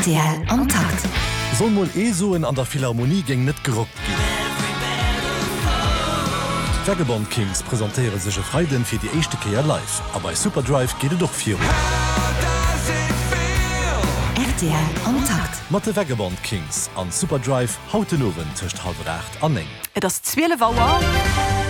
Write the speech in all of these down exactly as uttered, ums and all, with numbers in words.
Rtl am Takt. Soll mol ee soen, an der Philharmonie géing net gerockt ginn. D'Vagabond Kings presentéiere sech e Freiden fir déi éischte Kéier live. A bei Superdrive geet et och virun. Rtl am Takt. Mat de Vagabond Kings an Superdrive haut den Owend tëscht hallwer aacht an néng. Et ass zwielef Auer.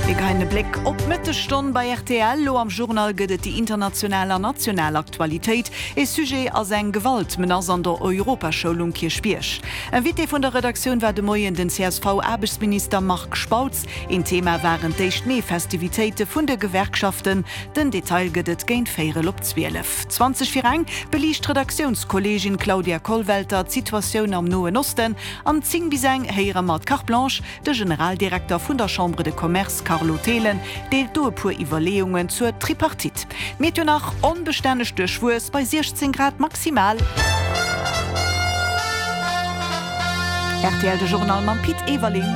Mir geheien e Bléck op d'Mëttesstonn bei rtl. Lo am Journal gëtt et déi international an national Aktualitéit. E Sujet ass eng Gewaltmenace an der Europaschoul um Kierchbierg. Invité vun der Redaktioun war de Moien den C S V-Aarbechtsminister Marc Spautz. Een Thema waren d'éischt Mee-Festivitéite vun de Gewerkschaften. Den Detail gëtt et géint véierel op zwielef. Zwanzeg vir eng beliicht d'Redaktiounskolleegin Claudia Kollwelter d'Situatioun am Noen Osten. An zéng bis eng héiere mer d'Carte Blanche, de Generaldirekter vun der Chambre de Commerce Carlo Thelen deelt do e puer Iwwerleeungen zur Tripartite. Meteo nach, onbestänneg duerchwuess bei siechzéng Grad maximal. Rtl de Journal mam Pit Everling.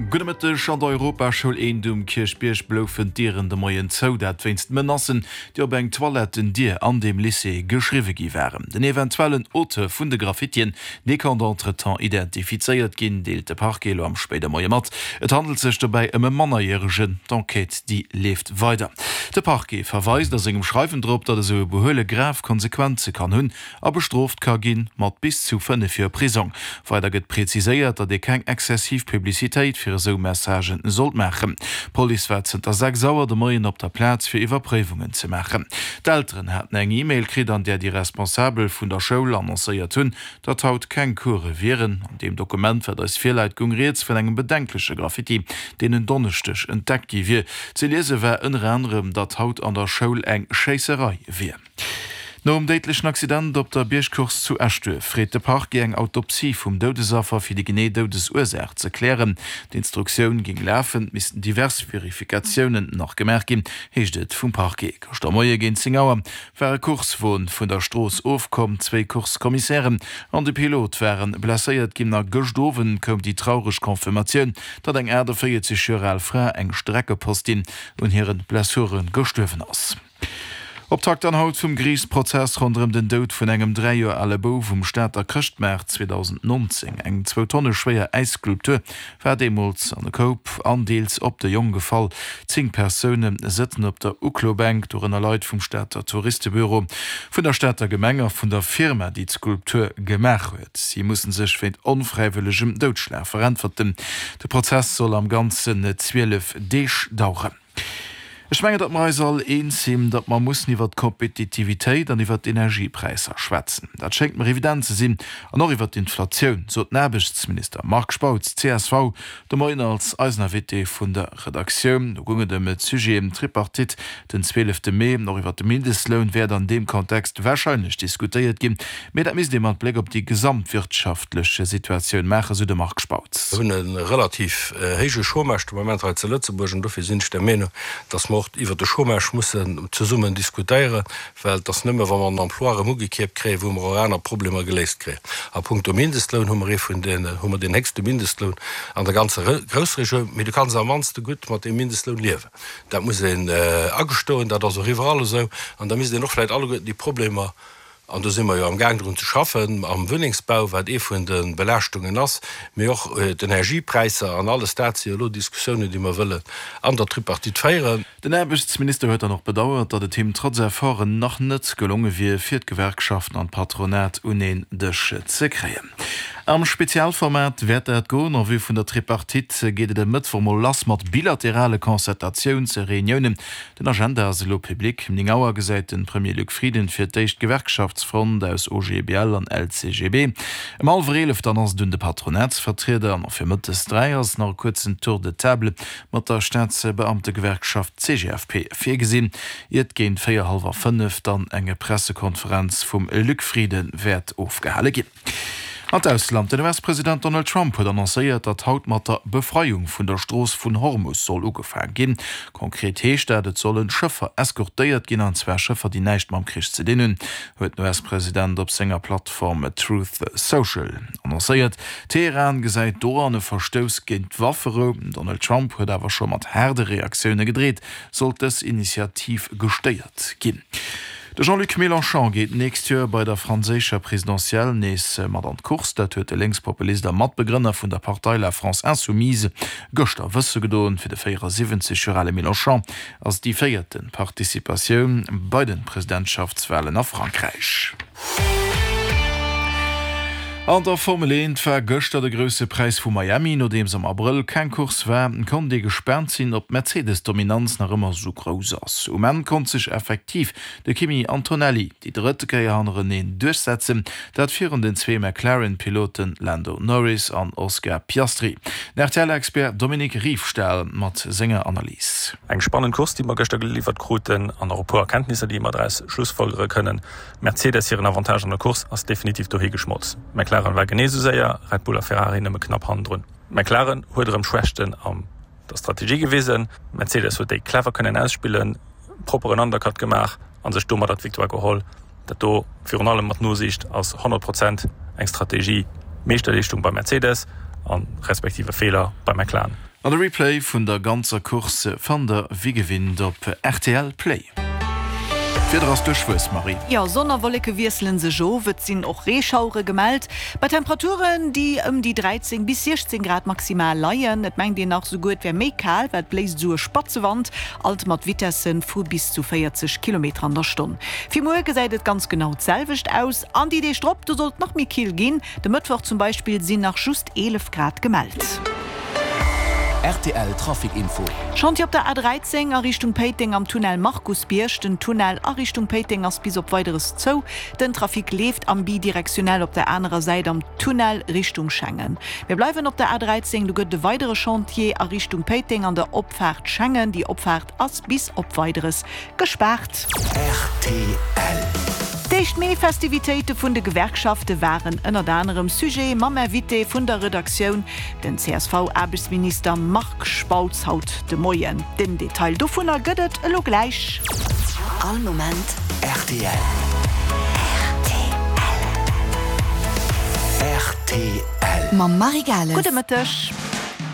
Gudde Mëtteg, An der Europaschoul Eent um Kierchbierg bloufen d'Dieren de Moien zou, dat wéinst Menacen, déi op eng Toilettendier an deem Lycée geschriwwe gi waren. Den eventuellen Auteur vun de Graffitien, dee konnt entretemps identifizéiert ginn, deelt de Parquet elo am spéide Moie mat. Et handelt sech dobäi ëm e Mannerjäregen. D'Enquête, déi leeft weider. De Parquet verweist a sengem Schreiwen drop, datt esou e Behuele grav Konsequenze kann hunn a bestrooft ka ginn mat bis zu fënnef Joer Prisong. Weider gëtt preziséiert, datt ee keng exzessiv Publicitéit fir esou Messagen sollt maachen. D'Police war zënter sechs Auer de Moien op der Plaz fir Iwwerpréiwungen ze maachen. D'Elteren haten eng E-Mail kritt, an där déi Responsabel vun der Schoul annoncéiert hunn, datt haut keng Course wieren. An deem Dokument, wat eis virläit, goung rieds vun engem bedenkleche Graffiti, deen en Donneschdeg entdeckt gi wier. Ze liese war ënner anerem, datt haut an der Schoul eng Schéisserei wier. Nom déidlechen Accident op der Biergcourse zu Eschduerf freet de Parquet eng Autopsie vum Doudesaffer fir déi genee Doudesursaach ze klären. D'Instruktioun géing lafen, et missten divers Verifikatiounen nach gemaach ginn, heescht et vum Parquet. Gëschter Moie géint zéng Auer war e Coursewon vun der Strooss ofkomm, zwéi Course-Commissären an de Pilot ware blesséiert ginn a gëscht Owend koum déi traureg Confirmatioun, datt eng achteenvéierzeg Joer al Fra, eng Streckepostin, un hire Blessure gestuerwen ass. Optakt dann haut vum Geriichtsprozess ronderëm den Doud vun engem dräi Joer ale Bouf um Stater Chrëschtmaart zweedausendnonzéng. Eng zwou Tonne schwéier Äisskulptur war deemools an e Koup an deels op de Jong gefall. Zéng Persoune sëtzen op der Uklobänk, dorënner Leit vum Stater Touristebüro, vun der Stater Gemeng a vun der Firma, déi d'Skulptur gemaach huet. Si musse sech wéint onfräiwëllegem Doudschlag veräntwerten. De Prozess soll am Ganzen zwielef Deeg daueren. Ech mengen, datt mer eis all eens sinn, datt mer mussen iwwert d'Kompetitivitéit an iwwert d'Energiepräisser schwätzen. Dat schéngt mer evident ze sinn. An och iwwert d'Inflatioun, sot den Aarbechtsminister Marc Spautz, C S V, de Moien als eisen Invité vun der Redaktioun. Do goung et ëm d'Sujeten Tripartite den zwielefte Mee. Och iwwert de Mindestloun wäert an deem Kontext warscheinlech diskutéiert ginn. Mee dat misst ee mat Bléck op déi gesamtwirtschaftlech Situatioun maachen, sou de Marc Spautz. Mir hunn e relativ héije Chômage de Moment hei zu Lëtzebuerg an dofir sinn ech der Meenung, datt mer och iwwert de Chômage mussen zesummen diskutéieren, well et ass nëmme wa mer den Emploi erëm ugekierpt kréien, wou mer och aner Problemer geléist kréien. A punkto Mindestloun hu mer ee vun den, hu mer deen héchste Mindestloun an der ganzer Groussregioun, mee du kanns am mannste gutt mat deem Mindestloun liewen. Dat muss een agestoen, dat ass och iwwerall esou. An da misst een och vläicht alleguerten déi Problemer, an do si mer jo am Gaang drun ze schaffen, am Wunnengsbau, wat ee vun de Belaaschtungen ass, mee och d'Energiepräisser an alles dat si jo elo Diskussiounen, déi mer wëllen an der Tripartite féieren. Den Aarbechtsminister huet dann och bedauert, datt et him trotz Efforten nach net gelonge wier, fir d'Gewerkschaften an d'Patronat un een Dësch ze kréien. Am Spezialformat wäert dat goen. En vue vun der Tripartite geet et e Mëttwoch mol lass mat bilaterale Concertatiounsreuniounen. Den Agenda ass elo public. Um néng Auer gesäit de Premier Luc Frieden fir d'éischt d'Gewerkschaftsfront aus O G B L an L C G B. Ëm hallwer eelef dann ass et un de Patronatsvertrieder an och fir mëttes dräi ass nach e kuerzen Tour de table mat der Staatsbeamtegewerkschaft C G F P virgesinn, iert géint véier, hallwer fënnef dann eng Pressekonferenz vum Luc Frieden wäert ofgehale ginn. An d'Ausland, Den U S-President Donald Trump huet annoncéiert, datt haut mat der Befreiung vun der Strooss vun Hormus soll ugefaang ginn. Konkret heescht dat, et solle Schëffer eskortéiert ginn, an zwar Schëffer, déi näischt mam Krich ze dinn hunn, huet den U S-President op senger Plattform Truth Social annoncéiert. Teheran gesäit doran e Verstouss géint d'Wafferou. Donald Trump huet awer scho mat haarde Reaktioune gedreet, sollt dës Initiativ gestéiert ginn. De Jean-Luc Mélenchon geet d'nächst Joer bei der franséischer Presidentielle nees mat an d'Course. Dat huet de Lénkspopulist a Matbegrënner vun der Partei La France Insoumise gëschter wësse gedoen. Fir de véierasiwwenzeg Joer ale Mélenchon ass et déi véierte Participatioun bei de Presidentschaftswalen a Frankräich. An der Formel eent war gëschter de Grousse Präis vu Miami. Nodeems am Abrëll keng Course war, konnt ee gespaant sinn, ob d'Mercedes-Dominanz nach ëmmer esou grouss ass. Um Enn konnt sech effektiv de Kimi Antonelli déi drëtte Kéier hannereneen duerchsetzen, dat virun den zwee McLaren-Piloten Lando Norris an Oscar Piastri. Den R T L-Expert Dominique Riefstahl mat senger Analys. Eng spannend Course, déi mer gëschter geliwwert kruten an och e puer Erkenntnisser, déi mer draus schlussfolgere kënnen. Mercedes hiren Avantage an der Course ass definitiv dohi geschmolz. McLaren war genee esou séier, Red Bull a Ferrari nëmme knapp hannendrun. McLaren huet erëm Schwächten an der Strategie gewisen, Mercedes huet déi clever kënnen ausspillen, propperen Undercut gemaach a sech domadder d'Victoire geholl. Dat do, virun allem mat Nosiicht, ass honnert Prozent eng Strategie Meeschterleeschtung bei Mercedes a respektive Feeler bei McLaren. An de Replay vun der ganzer Course fannt der wéi gewinnt op rtl Play. D'Wieder ass duerchwuess, Marie. Jo, Sonn a Wolleke wiessele sech of, et sinn och Reeschauere gemellt, bei Temperaturen, déi ëm déi dräizéng bis siechzéng Grad maximal leien. Et mengt een nach souguer, et wär méi kal, well et bléist esou e spatze Wand, alt mat Vitesse vu bis zu véierzeg Kilometer an der Stonn. Fir muer gesäit et ganz genau d'selwecht aus an déi Deeg drop, do soll et nach méi kill ginn. De Mëttwoch zum Beispill sinn nach just eelef Grad gemellt. Rtl Trafic Info. Chantier op der A dräizéng a Richtung Péiteng am Tunnel Markusbierg. Den Tunnel a Richtung Péiteng ass bis op Weideres zou. Den Trafic leeft am Bidirektionell op der anerer Säit am Tunnel Richtung Schengen. Mir bleiwen op der A dräizéng, do gëtt et e weidere Chantier a Richtung Péiteng an der Opfaart Schengen. Déi Opfaart ass bis op Weideres gespaart. Rtl. D'éischt Mee-Festivitéite vun de Gewerkschafte waren ënnert anerem Sujet mam Invité vun der Redaktioun, den C S V-Aarbechtsminister Marc Spautz haut de Moien. Den Detail dovunner gëtt et elo gläich. All Moment rtl. Rtl. Rtl. Mam Marie Gales. Gudde Mëtteg.